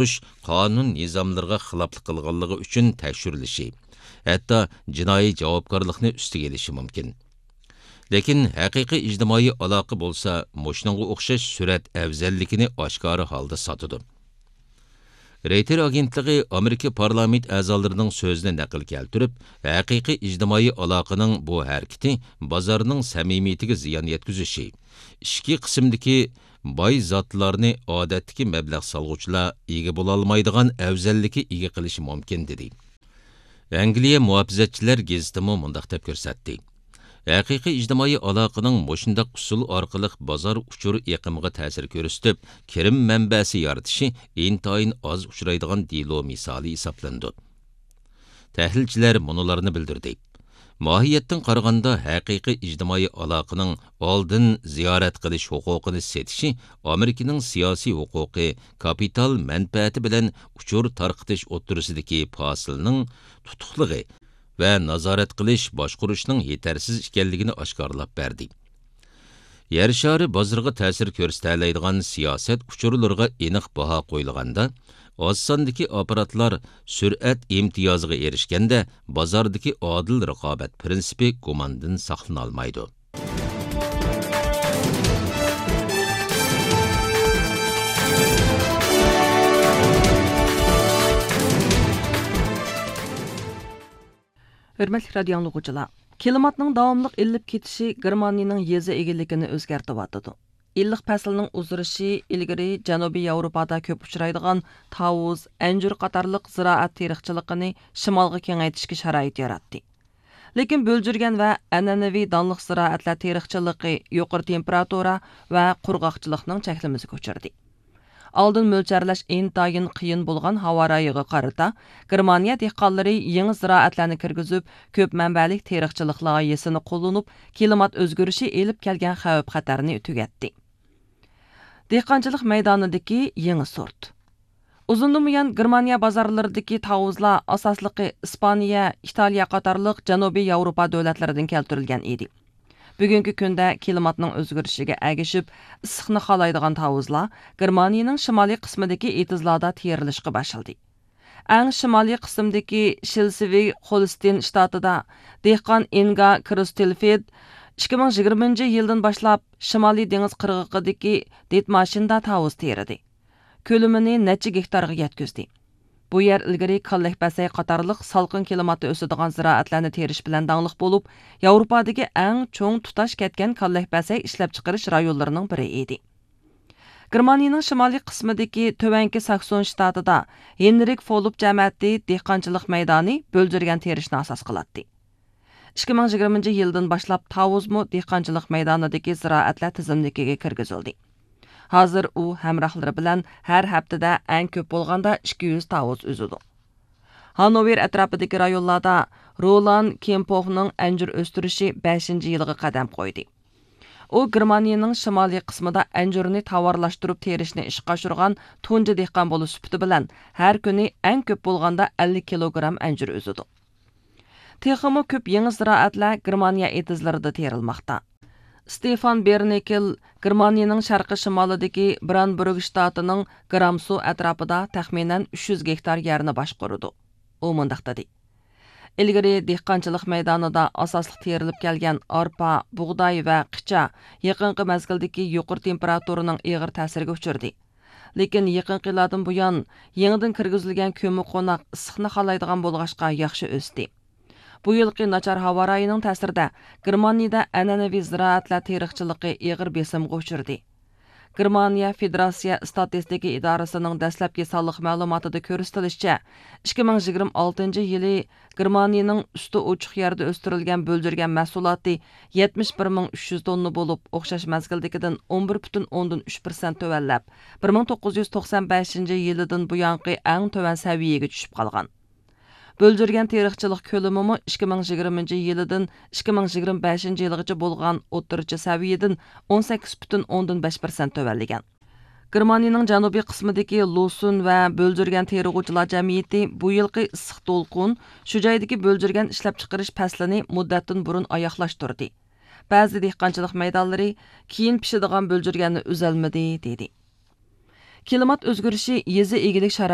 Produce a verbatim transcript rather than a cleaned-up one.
قۇرۇش قانۇن نىزاملىرىغا خىلاپلىق قىلغانلىقى ئۈچۈن تەكشۈرۈلۈشى، ھەتتا جىنايى جاۋابكارلىقنى ئۈستىگە ئېلىشى مۇمكىن. لېكىن ھەقىقىي ئىجتىمائىي ئالاقە بولسا مۇشۇنىڭغا ئوخشاش سۈرئەت ئەۋزەللىكىنى ئاشكارا ھالدا ساتىدۇ. رېيتېر ئاگېنتلىقى ئامېرىكا پارلامېنت ئەزالىرىنىڭ سۆزىنى نەقىل كەلتۈرۈپ، ھەقىقىي ئىجتىمائىي ئالاقىنىڭ بۇ ھەرىكىتى بازارنىڭ سەمىمىيىتىگە زىيان يەتكۈزۈشى، ئىچكى قىسىمدىكى باي زاتلارنى ئادەتتىكى مەبلەغ سالغۇچىلار ئىگە بولالمايدىغان ئەۋزەللىككە ئىگە قىلىشى مۇمكىن، دېدى. ئەنگلىيە مۇھاپىزەتچىلەر گېزىتىمۇ مۇنداق دەپ كۆرسەتتى: ھەقىقىي ئىجتىمائىي ئالاقىنىڭ مۇشۇنداق ئۇسۇل ئارقىلىق بازار ئۇچۇر ئېقىمىغا تەسىر كۆرسىتىپ، كىرىم مەنبەسى يارىتىشى ئىنتايىن ئاز ئۇچرايدىغان دېلو مىسالى ھېسابلىنىدۇ. تەھلىلچىلەر مۇنۇلارنى بىلدۈردى: ماھىيەتتىن قارىغاندا، ھەقىقىي ئىجتىمائىي ئالاقىنىڭ ئالدىن زىيارەت قىلىش ھوقۇقىنى سېتىشى ئامېرىكىنىڭ سىياسىي ھوقۇقى، كاپىتال مەنپەئەتى بىلەن ئۇچۇر تارقىتىش ئوتتۇرىسىدىكى پاسىلنىڭ تۇتۇقلۇقى ۋە نازارەت قىلىش، باشقۇرۇشنىڭ يېتەرسىز ئىكەنلىكىنى ئاشكارىلاپ بەردى. يەر شارى بازىرىغا تەسىر كۆرسىتەلەيدىغان سىياسەت ئۇچۇرلىرىغا ئېنىق باھا قويۇلغاندا، ئاز ساندىكى ئاپپاراتلار سۈرئەت ئىمتىيازىغا ئېرىشكەندە، بازاردىكى ئادىل رىقابەت پىرىنسىپى گۇماندىن ساقلىنالمايدۇ. ھۆرمەتلىك رادىيو ئاڭلىغۇچىلار، كىلىماتنىڭ داۋاملىق ئىللىپ كېتىشى گېرمانىيىنىڭ يېزا ئىگىلىكىنى ئۆزگەرتىۋاتىدۇ. ئىللىق پەسىلنىڭ ئۇزىرىشى ئىلگىرى جەنۇبىي ياۋروپادا كۆپ ئۇچرايدىغان تاۋۇز، ئەنجۈر قاتارلىق زىرائەت تېرىقچىلىقىنى شىمالغا كېڭەيتىشكە شارائىت ياراتتى. لېكىن بۆلجۈرگەن ۋە ئەنئەنىۋى دانلىق زىرائەتلەر تېرىقچىلىقى يۇقىرى تېمپېراتۇرا ۋە قۇرغاقچىلىقنىڭ چەكلىمىسىگە ئۇچرىدى. ئالدىن مۆلچەرلەش ئىنتايىن قىيىن بولغان ھاۋا رايىغا قارىتا، گېرمانىيە دېھقانلىرى يېڭى زىرائەتلەرنى كىرگۈزۈپ، كۆپ مەنبەلىك تېرىقچىلىق لايىھىسىنى قوللىنىپ، كىلىمات ئۆزگىرىشى ئېلىپ كەلگەن خەۋپ-خەتەرنى تۈگەتتى. دېھقانچىلىق مەيدانىدىكى يېڭى سورت. ئۇزۇندىن بۇيان گېرمانىيە بازارلىرىدىكى تاۋۇزلار ئاساسلىقى ئىسپانىيە، ئىتالىيە قاتارلىق جەنۇبىي ياۋروپا دۆلەتلىرىدىن كەلتۈرۈلگەن ئىدى. بۈگۈنكى كۈندە كىلىماتنىڭ ئۆزگىرىشىگە ئەگىشىپ، ئىسسىقنى خالايدىغان تاۋۇزلار گېرمانىيىنىڭ شىمالىي قىسمىدىكى ئېتىزلاردا تېرىلىشقا باشلىدى. ئەڭ شىمالىي قىسىمدىكى شلېسۋىگ-خولستېين شتاتىدا دېھقان ئىنگا كروستېلفېد ئىككى مىڭ يىگىرمىنچى يىلدىن باشلاپ شىمالىي دېڭىز قىرغىقىدىكى دىتماشىندا تاۋۇز تېرىدى. كۆلىمىنى نەچچە گېكتارغا يەتكۈزدى. بۇ يەر ئىلگىرى كاللەكبەسەي قاتارلىق سالقىن كىلىماتتا ئۆسىدىغان زىرائەتلەرنى تېرىش بىلەن داڭلىق بولۇپ، ياۋروپادىكى ئەڭ چوڭ تۇتاش كەتكەن كاللەكبەسەي ئىشلەپچىقىرىش رايونلىرىنىڭ بىرى ئىدى. گېرمانىيىنىڭ شىمالىي قىسمىدىكى تۆۋەنكى ساكسون شتاتىدا ھېنرىك فولۇپ جەمەتى دېھقانچىلىق مەيدانى بۆلجۈرگەن تېرىشنى ئاساس قىلاتتى. ئىككى مىڭ يىگىرمىنچى يىلدىن باشلاپ تاۋۇزمۇ دېھقانچىلىق مەيدانىدىكى زىرائەتلەر تىزىملىكىگە كىرگۈزۈلدى. ھازىر ئۇ ھەمراھلىرى بىلەن ھەر ھەپتىدە ئەڭ كۆپ بولغاندا ئىككى يۈز تاۋۇز ئۈزىدۇ. ھانوۋېر ئەتراپىدىكى رايونلاردا رولان كېمپوفنىڭ ئەنجۈر ئۆستۈرۈشى بەشىنچى يىلىغا قەدەم قويدى. ئۇ گېرمانىيىنىڭ شىمالىي قىسمىدا ئەنجۈرنى تاۋارلاشتۇرۇپ تېرىشنى ئىشقا ئاشۇرغان تۇنجى دېھقان بولۇش سۈپىتى بىلەن ھەر كۈنى ئەڭ كۆپ بولغاندا ئەللىك كىلوگرام ئەنجۈر ئۈزىدۇ. تېخىمۇ كۆپ يېڭى زىرائەتلەر گېرمانىيە ئېتىزلىرىدا تېرىلماقتا. ستېفان بېرنىكېل گېرمانىيىنىڭ شەرقىي شىمالىدىكى برانبۇرگ شتاتىنىڭ گرامسو ئەتراپىدا تەخمىنەن ئۈچ يۈز گېكتار يەرنى باشقۇرىدۇ. ئۇ مۇنداق دېدى: ئىلگىرى دېھقانچىلىق مەيدانىدا ئاساسلىق تېرىلىپ كەلگەن ئارپا، بۇغداي ۋە قىچا يېقىنقى مەزگىلدىكى يۇقىرى تېمپېراتۇرىنىڭ ئېغىر تەسىرىگە ئۇچرىدى. لېكىن يېقىنقى يىللاردىن بۇيان يېڭىدىن كىرگۈزۈلگەن كۆممىقوناق ئىسسىقنى خالايدىغان بولغاچقا ياخشى ئۆستى. بۇ يىلقى ناچار ھاۋا رايىنىڭ تەسىرىدە گېرمانىيىدە ئەنئەنىۋى زىرائەتلەر تېرىقچىلىقى ئېغىر بېسىمغا ئۇچرىدى. گېرمانىيە فېدېراتسىيە ئىستاتىستىكا ئىدارىسىنىڭ دەسلەپكى سانلىق مەلۇماتىدا كۆرسىتىلىشىچە، ئىككى مىڭ يىگىرمە ئالتىنچى يىلى گېرمانىيىنىڭ ئۈستى ئوچۇق يەردە ئۆستۈرۈلگەن بۆلجۈرگەن مەھسۇلاتى يەتمىش بىر مىڭ ئۈچ يۈز توننا بولۇپ، ئوخشاش مەزگىلدىكىدىن ئون بىر پۈتۈن ئوندىن ئۈچ پىرسەنت تۆۋەنلەپ، بىر مىڭ توققۇز يۈز توقسان بەشىنچى يىلىدىن بۇيانقى ئەڭ تۆۋەن سەۋىيەگە چۈشۈپ قالغان. بۆلجۈرگەن تېرىقچىلىق كۆلىمىمۇ ئىككى مىڭ يىگىرمىنچى يىلىدىن ئىككى مىڭ يىگىرمە بەشىنچى يىلغىچە بولغان ئوتتۇرىچە سەۋىيەدىن ئون سەككىز پۈتۈن ئوندىن بەش پىرسەنت تۆۋەنلىگەن. گېرمانىيىنىڭ جەنۇبىي قىسمىدىكى لوسۇن ۋە بۆلجۈرگەن تېرىغۇچىلار جەمئىيىتى بۇ يىلقى ئىسسىق دولقۇن شۇ جايدىكى بۆلجۈرگەن ئىشلەپچىقىرىش پەسلىنى مۇددەتتىن بۇرۇن ئاياغلاشتۇردى. بەزى دېھقانچىلىق مەيدانلىرى كېيىن پىشىدىغان بۆلجۈرگەننى ئۈزەلمىدى، دېدى. كىلىمات ئۆزگىرىشى يېزا ئىگىلىك شارائىتىنى